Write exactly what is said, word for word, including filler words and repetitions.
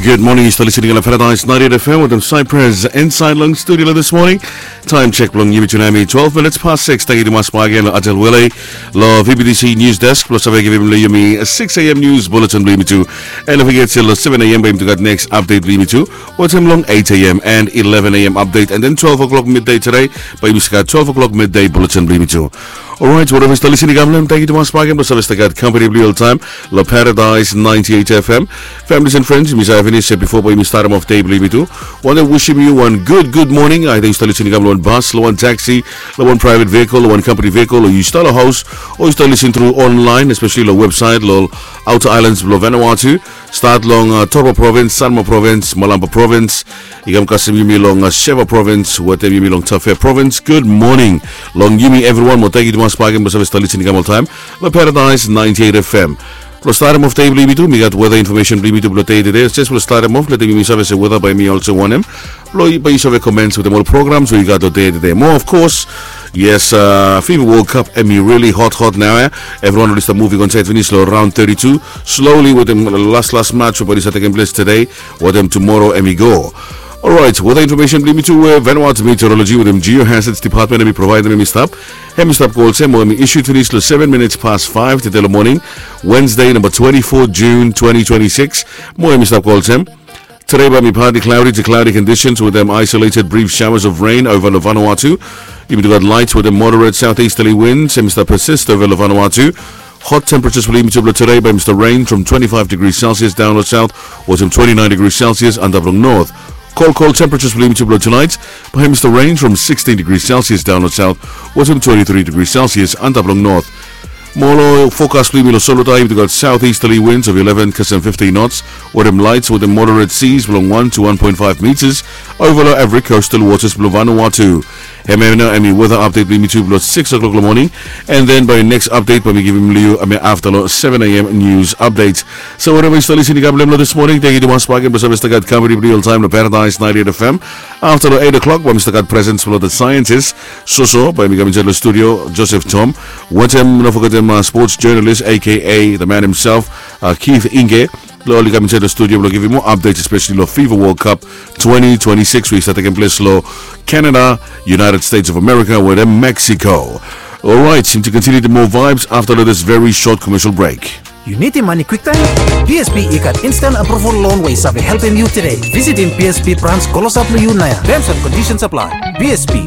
Good morning, yu stap listening long Paradise ninety-eight F M wetem Cyprus inside long studio this morning. Time check blong yumi tu nau hemi twelve minutes past six. Tangkiu tumas bakegen long Atel Wele long V B T C News Desk blong save givim long yumi six a.m. news bulletin blong yumi tu. And don't forget, long seven a.m. bae yumi tu gat next update blong yumi tu. Wetem long eight a.m. and eleven a.m. update, and then twelve o'clock midday today bae yumi save gat twelve o'clock midday bulletin blong yumi tu. Alright, whatever yu stap listening long, tangkiu tumas bakegen blong save stap gat company blong yu oltaem long Paradise ninety-eight F M. Families and friends, mi save finis se bifo bae yumi statem of dei blong yumi tu, wantem wisim yu wan good good morning. Aida yu stap listening long wan bus, long wan taxi, long wan private vehicle, long wan company vehicle, o yu stap long haos, o yu stap listening through online, especially long website long outer islands blong Vanuatu. Stat long Toro Province, Sanma Province, Malampa Province, i kam kasem yumi long Sheva Province wetem yumi long Tafea Province. Good morning long yumi evriwan, mo tangkiu tumas bakegen blong save stap listening oltaem long Paradise ninety-eight F M. Blong statem of dei blong yumi tu, mi gat weather information blong yumi tu blong dei tede. Jes blong statem of, letem yumi save se weather bae hemi olsem wanem, blong bae yu save comments wetem ol programs we yu gat long dei tede. Mo of course, yes, FIFA World Cup hemi really hot hot nao ya. Evriwan oli stap moving on saed finis long round thirty-two. Slowly wetem las las match we bae oli stap tekem ples tede wetem tumoro hemi go. Alright, weather information blong yumi tu, we Vanuatu Meteorology wetem Geohazards Department hemi provaedem, hemi stap, hemi stap go olsem, mo hemi issued finis long seven minutes past five tede long moning, Wednesday, number twenty-four June twenty twenty-six. Mo hemi stap go olsem, today bae hemi partly cloudy to cloudy conditions wetem isolated brief showers of rain ova long Vanuatu. Yumi tu gat light wetem moderate southeasterly winds, hemi stap persist ova long Vanuatu. Hot temperatures blong yumi tu blong today bae hemi stap range from twenty-five degrees Celsius daon long south wetem twenty-nine degrees Celsius antap long north. Cold cold temperatures blong yumi tu blong tonight bae hemi stap range from sixteen degrees Celsius daon long south wetem twenty-three degrees Celsius antap long north. Mo long forecast blong yumi long Solutai, yumi tu gat southeasterly winds of eleven kasem fifteen knots wetem light wetem moderate seas blong one to one point five meters ova long average coastal waters blong Vanuatu. Hemia nao hemi weather update blong yumi tu blong six o'clock long moning. And then bae next update bae mi givim long yu hemia afta long seven a.m. news update. So whatever yu stap listening long this morning, tangkiu tumas bakegen blong save stap gat company blong yu oltaem long Paradise ninety-eight F M. Afta long eight o'clock bae mi stap gat presence blong the scientist, Soso, bae hemi kam insaed long studio, Joseph Tom, wetem, no fogetem, sports journalist, A K A the man himself, Keith Inge. Blong oli kam insaed long studio blong givim moa updates, especially long FIFA World Cup twenty twenty-six we i stap tekem ples long Canada, United States of America wetem Mexico. Alright, time to continue the more vibes afta long this very short commercial break. Yu nidim mane kwiktaem? B S P i gat instant approval loan we i save helpem yu tede. Visitim B S P brans klosap long yu naoia. Terms and conditions apply. B S P,